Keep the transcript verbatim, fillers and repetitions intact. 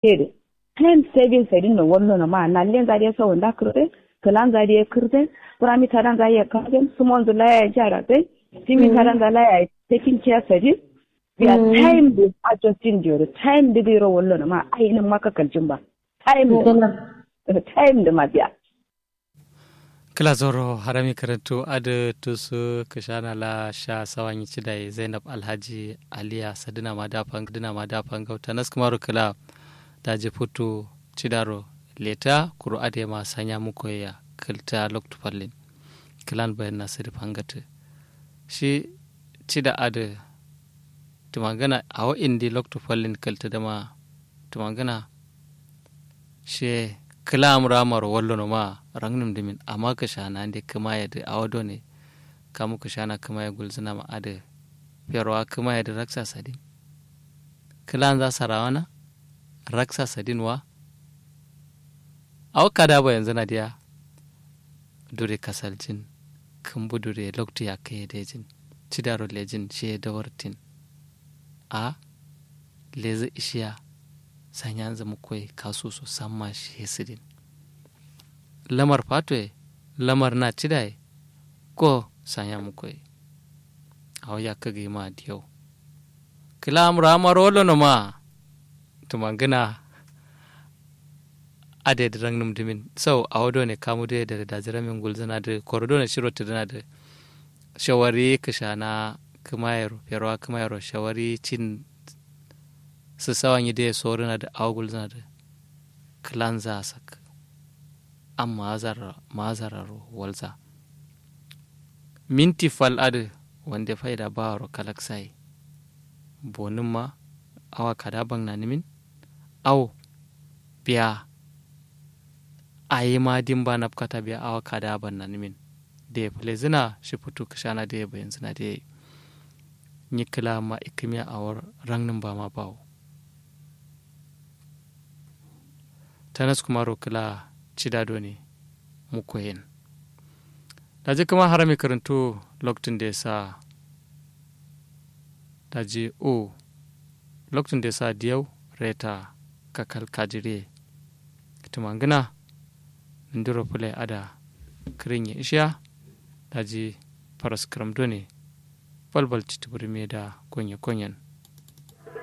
Time saving sadin no wallono ma nallenza dai sawonza kǝrzen, kǝlanza dai kǝrzen, furami tadanza ye karzen, sumonzu la yayi nca razai, fimi tadanza la yayi takin ciya sadin. Biya time dǝ adjusting diyoro time dǝ gairo wallono ma ayi nǝmma kakaljin ba. Time dǝ ma biya. Kǝla zauro harami kǝrǝntu adǝ tusu kǝshana la sha sawanyi cidayi zainab alhaji aliya sadǝna ma da fangau tanaskǝmaro kǝla. Daji futu cidaro leta kuru adǝ ye ma sanya mukoye ya kǝlta loktu fallin. Kǝlan bayanna sǝdǝ fangatǝ shi cida adǝ. Tǝmangǝna awo indi loktu fallin kǝltǝ dǝma tǝmangǝna. Shiye kǝla amra amaro wallono ma rangnǝm dǝmin amma kǝshana nde kǝmaye dǝ awo done. Kamu kǝshana kǝmaye gulzǝna ma adǝ ferowa kǝmaye dǝ raksa sadin. Kǝlanza sarawana raksa sadin wa. Awo kada bayanzǝna diya. Dure kasaljin kǝmbu dure loktu yakkǝ ye dejin cidaro lejin shiye dawartin. A lezǝ ishiya sanyanzǝ mukoye kasuso samma shiye sǝdin. Lamar fatoye lamar na cidaye. Ko sanya mukoye. Awo yakkǝ gǝyima diyau. Kǝla amro amaro wallono ma. Tǝmangǝna. Adǝ ye dǝ rangnǝm dǝmin sau awo done kamu dǝ ye dare daji ramin gulzǝna dǝ koro done shiro tǝdǝna dǝ. Shawari kǝshana kǝmayero ferowa kǝmayero shawari cin. Sǝsawa nyi dǝ ye sorǝna dǝ awo gulzǝna dǝ. Kǝlanza asak. Amma ma'azararo walza. Minti fal adǝ wande faida bawaro kalaksayi. Bonǝmma awa kada bangnanǝmin. Awo biya. Ayima dimba nabkata biya awa kada bannanǝmin. De fǝlezǝna shi futu kǝshana de bayanzǝna de. Nyi kǝla ma ikkǝmiya awo rangnǝmba ma bawo. Tanas kumaro kǝla cida done. Mukoyen. Daji kǝma harami kǝrǝntu. Loktun de sa. Daji u. Loktun de sa diyau reta kakal kajiriye. Tǝmangǝna. Nǝndiro fǝle ada. Kǝrinye ishiya. Daji faraskǝram done. Balbal citǝbǝrǝmiye da konye konyen.